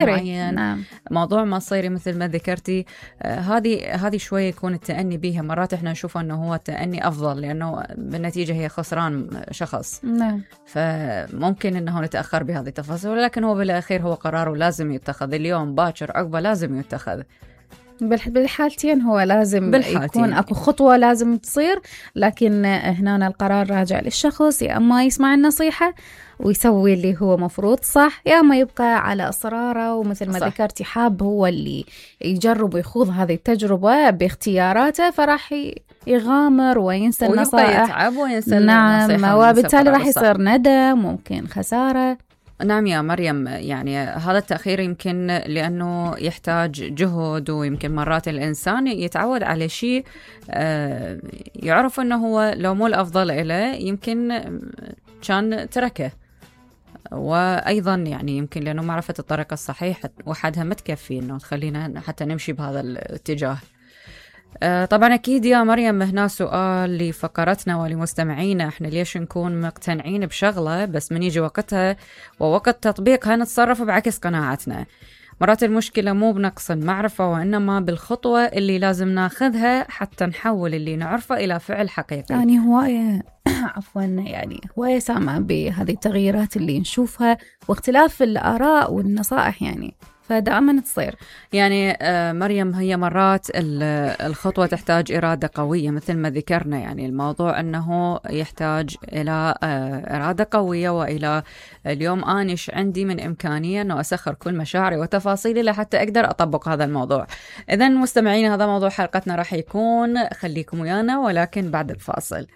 معين. نعم. موضوع مصيري مثل ما ذكرتي، هذه شوية يكون التأني بيها. مرات احنا نشوف انه هو التأني افضل لانه بالنتيجة هي خسران شخص. نعم. فممكن انه نتأخر بهذه التفاصيل، ولكن هو بالاخير هو قراره لازم يتخذ، اليوم باكر عقبه لازم يتخذ. بالحالتين هو لازم يكون اكو خطوة لازم تصير، لكن هنا القرار راجع للشخص، يا اما يسمع النصيحة ويسوي اللي هو مفروض صح، يا اما يبقى على اصراره، ومثل ما ذكرتي حاب هو اللي يجرب ويخوض هذه التجربة باختياراته، فراح يغامر وينسى النصائح، يتعب وينسى نعم، وبالتالي راح يصير ندم، ممكن خسارة. نعم يا مريم، يعني هذا التأخير يمكن لأنه يحتاج جهد، ويمكن مرات الإنسان يتعود على شيء يعرف أنه هو لو مو الأفضل إله يمكن كان تركه، وأيضا يعني يمكن لأنه معرفة الطريقة الصحيحة وحدها ما تكفي أنه تخلينا حتى نمشي بهذا الاتجاه. طبعا أكيد يا مريم هنا سؤال لفقرتنا ولمستمعينا، احنا ليش نكون مقتنعين بشغلة بس من يجي وقتها ووقت تطبيقها نتصرف بعكس قناعتنا؟ مرات المشكلة مو بنقص المعرفة، وإنما بالخطوة اللي لازم ناخذها حتى نحول اللي نعرفه إلى فعل حقيقي. يعني هواية عفوا، يعني هواية سامعة بهذه التغييرات اللي نشوفها واختلاف الآراء والنصائح، يعني فدائما تصير. يعني مريم، هي مرات الخطوة تحتاج إرادة قوية مثل ما ذكرنا، يعني الموضوع أنه يحتاج إلى إرادة قوية، وإلى اليوم أنا إيش عندي من إمكانية أنه أسخر كل مشاعري وتفاصيلي لحتى أقدر أطبق هذا الموضوع. إذن مستمعين، هذا موضوع حلقتنا راح يكون، خليكم ويانا ولكن بعد الفاصل.